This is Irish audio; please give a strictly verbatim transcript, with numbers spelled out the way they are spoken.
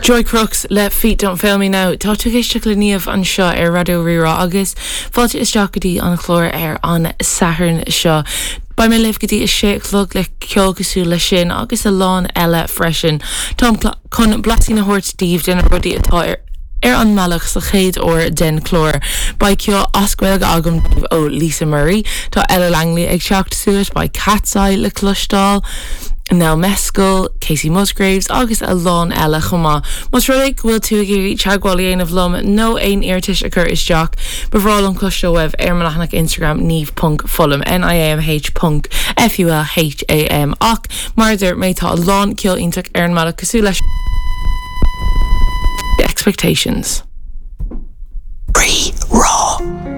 Joy Crooks le Feet Don't Fail Me Now Tá tú ag éisteacht le Niamh anseo ar Raidió Rí-Rá agus fáilte isteach go dtí an chlár ar an Satharn seo. Beidh mé libh go dtí a sé a chlog le ceol cosúil le sin agus a lán eile freisin. Táim chun blaisín a thabhairt daoibh de na rudaí atá ar ar an mbealach sa chéad uair den chlár. Beidh ceol as Gaeilge agam ó Lisa Murray, Tá Ella Langley ag teacht suas beidh Katseye le cloisteáil. Nell Mescal, Kacey Musgraves agus a lán eile chomh maith. Más rud é go bhfuil tú ag iarraidh teagmháil a dhéanamh liom nó aon iarratais a chur isteach, ba bhreá liom cloisteáil uaibh ar mo leathanach Instagram niamh.fulham NIAMH ponc FULHAM ach mar a dúirt mé tá a lán ceol iontach ar an mbealach cosúil leis Expectations.